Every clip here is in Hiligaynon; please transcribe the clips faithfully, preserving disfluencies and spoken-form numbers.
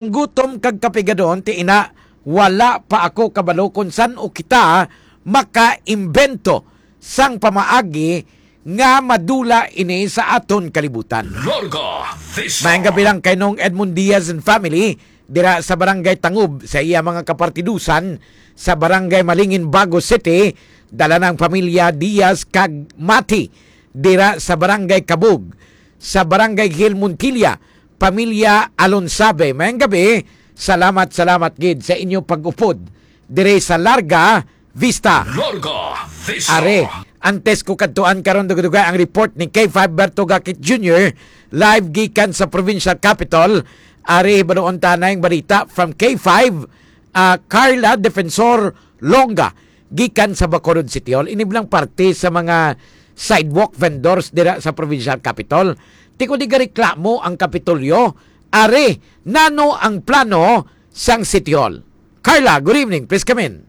gutom kag kapigadon, ti ina, wala pa ako kabalo kung san-o kita makaimbento sang pamaagi nga madula ini sa aton kalibutan. Larga Vista. Maayong gabi lang kay Nong Edmund Diaz and family dira sa Barangay Tangub sa iya mga kapartidusan sa Barangay Malingin, Bago City. Dala ng pamilya Diaz kag Mati dira sa Barangay Kabug, sa Barangay Hill Montilla, pamilya Alonsabe. Maayong gabi. Salamat, salamat gid sa inyo pag-upod dire sa Larga Vista. Larga Vista. Are, antes ko kadtuan karon, duga-duga ang report ni K five Berto Gakit Junior, live gikan sa provincial capital. Are, hibaluon ta na ang balita from K five, ah, Carla Defensor Longa, gikan sa Bacolod City Hall. Ini bilang parte sa mga sidewalk vendors dira sa provincial capital. Ti ko di gareklamo ang Kapitolyo. Are, nano ang plano sang City Hall? Carla, good evening. Please come in.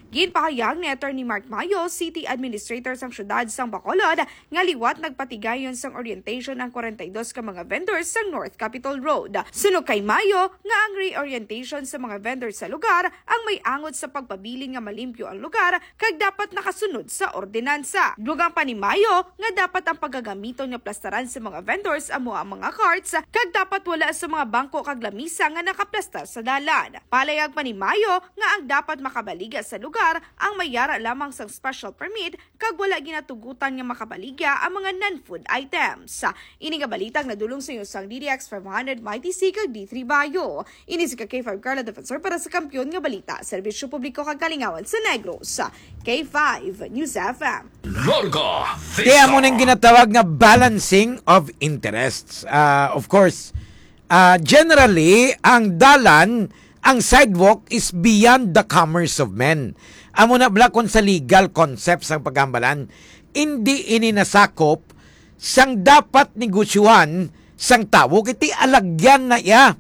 Ginpahayag ni Attorney Mark Mayo, City Administrator sang Siyudad sang Bacolod, nga liwat nagpatigayon sang orientation ang forty-two ka mga vendors sa North Capitol Road. Suno kay Mayo nga ang reorientation sa mga vendors sa lugar ang may angot sa pagpabilin nga malimpyo ang lugar kag dapat nakasunod sa ordinansa. Dugang pa ni Mayo nga dapat ang pagagamiton nga plastaran sa mga vendors amo ang mga carts kag dapat wala sa mga bangko kag lamisa nga nakaplastar sa dalan. Palayag pa ni Mayo nga ang dapat makabaligya sa lugar ang may yara lamang sang special permit kag wala ginatugutan nga makabaligya ang mga non-food items. Ini nga balita ang nadulong sa inyo sang D D X five hundred, Mighty C kag D three Bayo. Ini si K five Carla Defensor para sa Kampiyon nga Balita, Serbisyo Publiko kag Kalingawan sa Negros. K five News F M. Larga Vista. Kaya mo nang ginatawag nga balancing of interests. Ah, of course, ah, generally, ang dalan, ang sidewalk is beyond the commerce of men. Amo na bala kung sa legal concept sang paghambalan, hindi ini nasakop sang dapat negosyuhan sang tawo, kay ti alagyan na iya.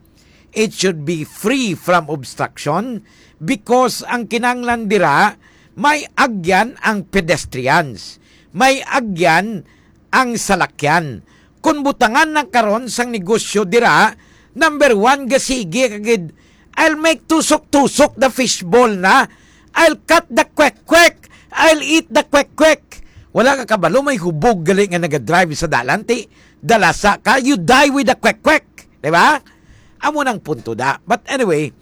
It should be free from obstruction because ang kinahanglan dira may agyan ang pedestrians, may agyan ang salakyan. Kung butangan na karon sang negosyo dira, number one, gasigi ka gid, "I'll make tusok-tusok the fishball na. I'll cut the kwek-kwek. I'll eat the kwek-kwek." Wala ka kabalo, may hubog gali nga nagadrive sa dalan, ti dalasa ka, you die with the kwek-kwek. Di ba? Amo nang punto da. But anyway,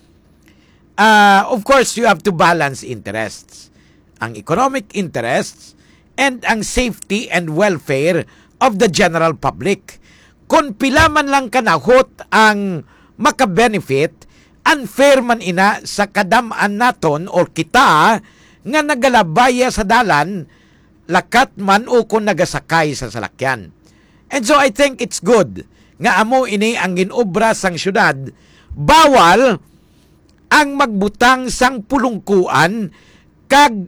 ah, of course, you have to balance interests. Ang economic interests and ang safety and welfare of the general public. Kung pila man lang kanahot ang makabenefit, unfair man ina sa kadam-an naton or kita nga nagalabaya sa dalan, lakat man o kung nagasakay sa salakyan. And so I think it's good nga amo ini ang ginobra sang syudad. Bawal ang magbutang sang pulungkuan kag,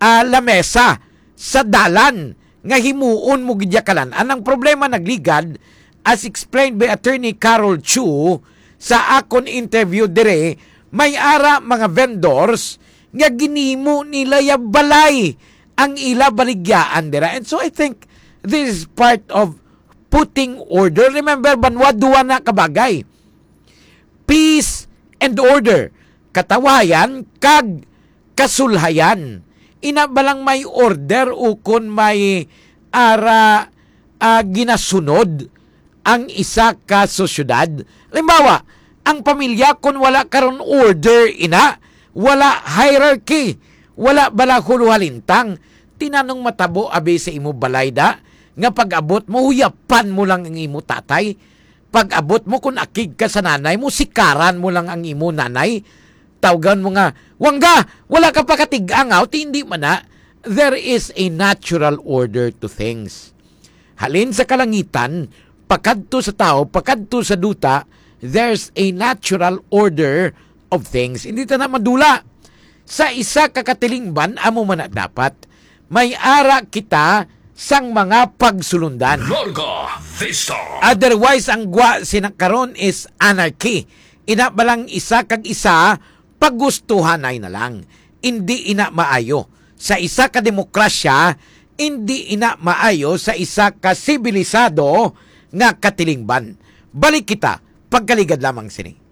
ah, lamesa sa dalan nga himuon mo gid ya kalan-an. Ang problema nagligad, as explained by Attorney Carol Chu sa akon interview dire, may ara mga vendors nga ginimo nila ya balay ang ila baligyaan dira. And so I think this is part of putting order. Remember, banwa duwa na kabagay. Peace and order. Katawayan kag kasulhayan. Ina ba lang may order o kon may ara, ah, ginasunod ang isa ka sosyedad? Halimbawa, ang pamilya, kon wala karon order, ina, wala hierarchy, wala bala huluhalintang, tinanong matabo abi sa imo balay da, nga pag-abot mo, huyapan mo lang ang imo tatay. Pag-abot mo, kung akig ka sa nanay mo, sikaran mo lang ang imo nanay. Tawgan mo nga, "Wangga, wala ka pa katig-angaw," ti hindi man na. There is a natural order to things. Halin sa kalangitan, pakadto sa tao, pakadto sa duta, there's a natural order of things. Hindi ta na madula. Sa isa ka katilingban, amo man na dapat. May ara kita sang mga pagsulundan. Larga Vista. Otherwise, ang gwa sina karon is anarchy. Ina ba lang isa kag isa, pagustuhanay na lang. Indi ina maayo. Sa isa ka demokrasya, indi ina maayo sa isa ka sibilisado nga katilingban. Balik kita, pagkaligad lamang sini.